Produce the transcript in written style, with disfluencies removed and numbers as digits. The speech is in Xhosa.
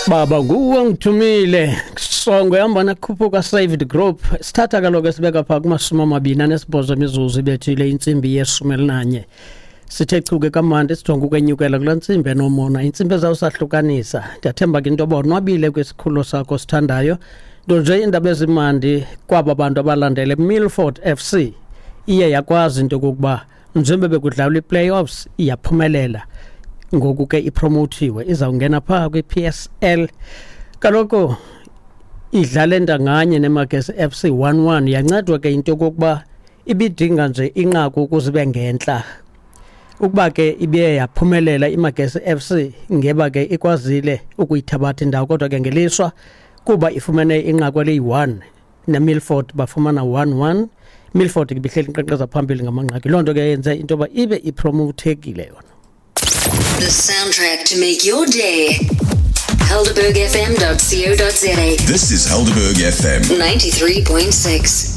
Baba nguwe ongithumile songo yahamba nakhuphuka saved group sithatha kaloku esibeka phaa kumashumi amabini anesibhozo imizuzu ibethile intsimbi yeshumi elinanye sithe chuke kamandi sijonge ukwenyukela kulaa ntsimbi enomona intsimbi ezawusahlukanisa ndiyathemba ke into yoba onwabile kwisikhululo sakho sithandayo nto nje iindaba ezimandi kwaba bantu abalandele Milford FC iye yakwazi into yokokuba njengoba bekudlalwa i-playoffs iyaphumelela ngoku ke ipromothiwe izawungena phaa kwi-PSL kaloku idlale ntanganye neMagesi FC 1-1 yancedwa ke into yokokuba ibidinga nje inqaku ukuze ibe ngentla ukuba ke ibiye yaphumelela iMagesi FC ngeba ke ikwazile ukuyithabatha indawo kodwa ke ngelishwa kuba ifumene inqaku eliyi-1 neMilford bafumana 1-1 Milford ke ibihleli inkqenkqeza phambili ngamanqaku loo nto ke yenze into yoba ibe ipromothekile yona. The soundtrack to make your day. HelderbergFM.co.za. This is Helderberg FM. 93.6.